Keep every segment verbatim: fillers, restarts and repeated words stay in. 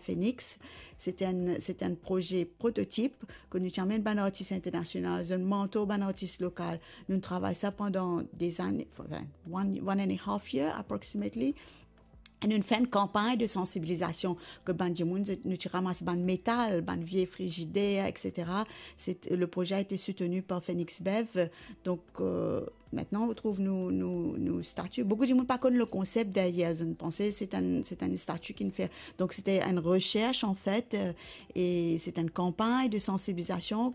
Phoenix. Se ti enn, se ti enn proze prototip ke nou ti amenn bann artis internasional, zot mantor bann artis lokal. Nou travay sa pandan de zane, anfin, one, one and a half year approximately. E nou fer enn kanpagn de sansibilizasion ke bann dimoun, nou ti ramas bann metal, bann vie frizider, et cetera. Se, le proze a été soutenu par Phoenix Bev. Donk, euh, maintenant, on trouve nou, nou, nou stati. Boukou dimoun pa konn le konsep deryer, zot panse se enn, se enn stati ki nou fer. Donk, se ti enn resers, an fet, euh, e se ti enn kanpagn de sansibilizasion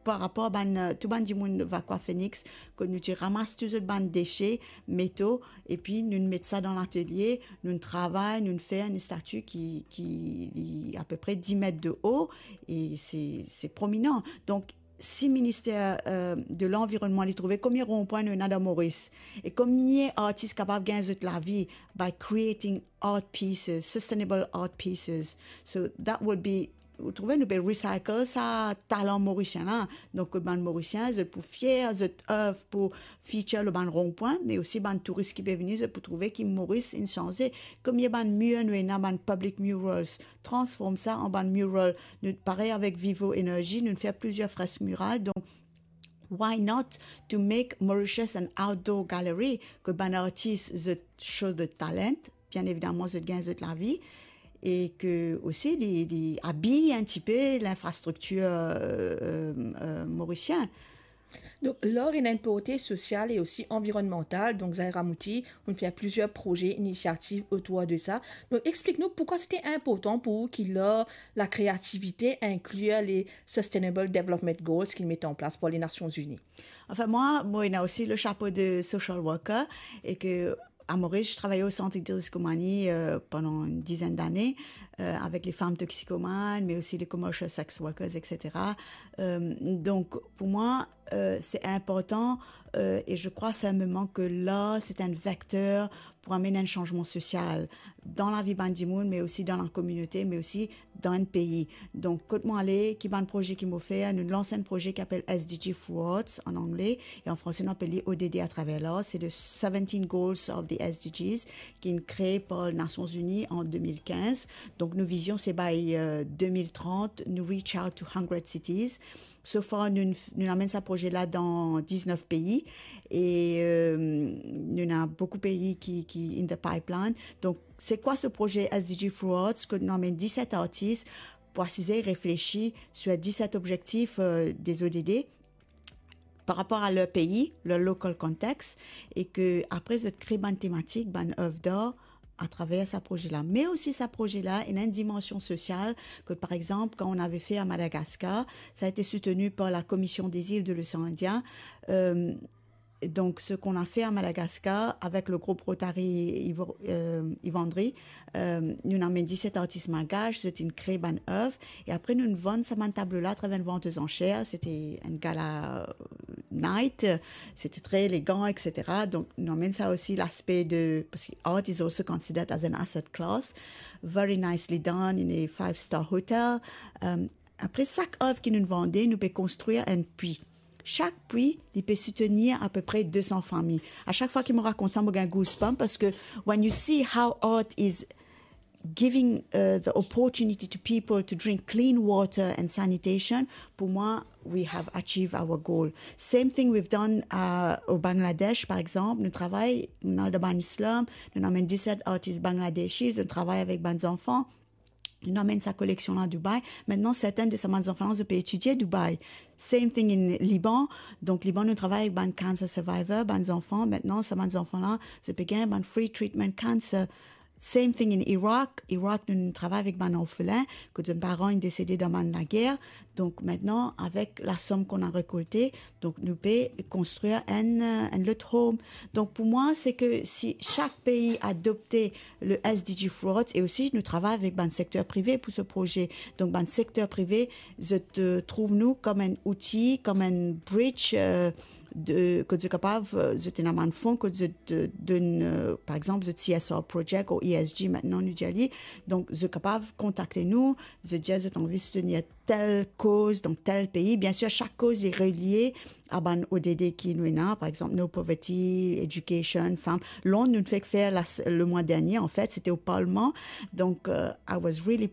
par rapor bann, euh, tou bann dimoun Vacoas Phoenix, ke nou ti ramas tou zot bann dese, meto, epi nou met sa dan latelie, nou travay, nou fer enn stati ki, ki li apepre dis met de o, e se, se prominan. Donk, si Minister, euh, de Lanvironnman, li trouve komie ronpwin nou ena dan Moris, e komie artis kapav gagn zot lavi by creating art pieces, sustainable art pieces. So that would be, ou trouve, nou pe recycle sa talan morisien la. Donk, bann Morisien, zot pou fier, zot oeuvre pou feature lor bann ronpwin, me osi bann touris ki pe vini, zot pou trouve ki Moris inn sanze. Komie bann mir nou ena, bann public murals, transform sa an bann mural. Nou, parey avek Vivo Energy, nou fer plizier fresk miral. Donk, why not to make Mauritius an outdoor gallery, ke bann artis zot show zot talent, bien evidaman zot gagn zot lavi, e ke osi li, li abiy enn tipe linfrastriktir, euh, euh, morisien. Donk, lar ena enn porte sosial e osi anvironnmantal. Donk, Zahra Mouti, ou fer plizier proze, inisiativ otour de sa. Donk, explik nou poukwa se ti inportan pou ou ki lar, lakreativite, inklir le Sustainable Development Goals ki met an plas par Lenasion Zini. Anfin, mwa, mo ena osi le sapo de social worker, e ke a Moris, je travaillais au Centre Idriss Koumani, euh, pendant une dizaine d'années, euh, avec les femmes toxicomanes, mais aussi les commercial sex workers, et cetera. Euh, donc, pour moi, euh, c'est important, euh, et je crois fermement que l'art, c'est un vecteur pour amener un changement social dans la vie bann dimoun, mais aussi dans la communauté, mais aussi dan enn pei. Donk, kot mo ale, ki bann proze ki mo fer, nou lans enn proze ki apel S D G Through Arts an angle, e an franse nou apel li O D D à travers l'art. Se the seventeen goals of the S D Gs ki inn kree par Nasion Zini an de mil kinz. Donk, nou vizion se by, euh, de mil trant, nou reach out to hundred cities. So far, nou, nou amenn sa proze la dan diznef pei e, euh, nou ena boukou pei ki, ki in the pipeline. Donk, se kwa se proze S D G Through Arts? Ke nou amenn diset artis pou asize, reflesi sur diset objektif, euh, des O D D par rapor a ler pei, ler local context, e ke apre zot kree bann tematik, bann oeuvre d'art atraver sa proze la. Me osi sa proze la ena enn dimansion sosial, ke par exanp, kan nou ave fer a Madagascar, sa a été soutenu par la Commission des îles de l'océan Indien. Euh, donc, ce qu'on a fait à Madagascar avec le groupe Rotary Ivo-, euh, Ivandri, euh, nou amenn diset artis malgash, zot inn kree bann oeuvre, e apre nou vann sa bann tablo la atraver enn vant aux enchères, se ti enn gala night, se ti tre elegan, et cetera. Donk, nou amenn sa osi laspe de, parski art is also considered as an asset class, very nicely done in a five-star hotel. Euh, apre sak oeuvre ki nou vande, nou pe konstrir enn pwi. Sak pwi, li pe soutenir apepre de san fami. A sak fwa ki mo rakont sa, mo gagn goosebump, parski when you see how art is giving, uh, the opportunity to people to drink clean water and sanitation, pour moi, we have achieved our goal. Same thing we've done, uh, au Bangladesh, par exanp. Nou travay, nou al dan bann slum, nou amenn diset artis Bangladeshis, nou travay avek bann zanfan. Nou amenn sa koleksion la Dubai. Maintenant, sertin de sa bann zanfan la, zot pe etidie Dubai. Same thing in Liban. Donk, Liban, nou travay avek bann cancer survivor, bann zanfan. Maintenant, sa bann zanfan la, zot pe gagn bann free treatment cancer. Same thing in Iraq. Iraq, nou, nou travay avek bann orfelin, kot zot paran inn desede dan bann lager. Donk, maintenant, avec la somme qu'on a récoltée, donk, nou pe konstrir enn, euh, enn lot home. Donk, pour moi, c'est que si chaque pays adoptait le S D G Through Arts, e osi nou travay avek bann sekter prive pou se proze. Donk, bann sekter prive, zot, euh, trouv nou kom enn outi, kom enn bridge, euh, de, kot zot kapav, euh, zot ena bann fon, kot zot, euh, donn, euh, par exanp, zot C S R project ou E S G, maintenant, nou dir li. Donk, zot kapav kontakte nou, zot dir zot anvi soutenir tel koz dan tel pei. Bien sûr, sak koz li relie a bann O D D ki nou ena, par exanp, No Poverty, Education, Femme. Londres, nou fek fer la, le mois dernier, en fait, c'était au Parlement. Donc, euh, I was really